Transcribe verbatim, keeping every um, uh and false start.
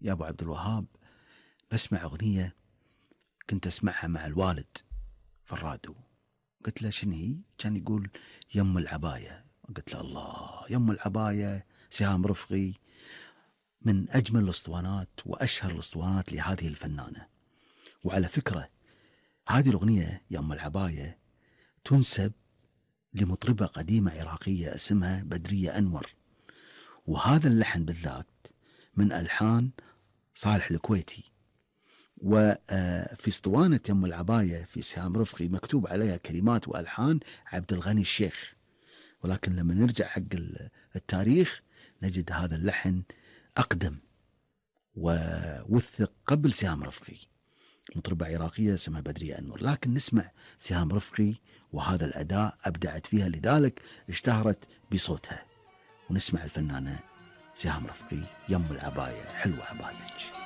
يا أبو عبد الوهاب بسمع أغنية كنت أسمعها مع الوالد في الراديو. قلت له شنو هي؟ كان يقول يم العباية. قلت له الله، يم العباية سهام رفقي من أجمل الأسطوانات وأشهر الأسطوانات لهذه الفنانة. وعلى فكرة هذه الأغنية يم العباية تنسب لمطربة قديمة عراقية اسمها بدرية أنور، وهذا اللحن بالذات من ألحان صالح الكويتي. وفي اسطوانة يم العباية في سهام رفقي مكتوب عليها كلمات وألحان عبد الغني الشيخ، ولكن لما نرجع حق التاريخ نجد هذا اللحن أقدم ووثق قبل سهام رفقي، مطربة عراقية اسمها بدرية أنور. لكن نسمع سهام رفقي وهذا الأداء أبدعت فيها، لذلك اشتهرت بصوتها. ونسمع الفنانة سهام رفقي يم العباية حلوة عباتك.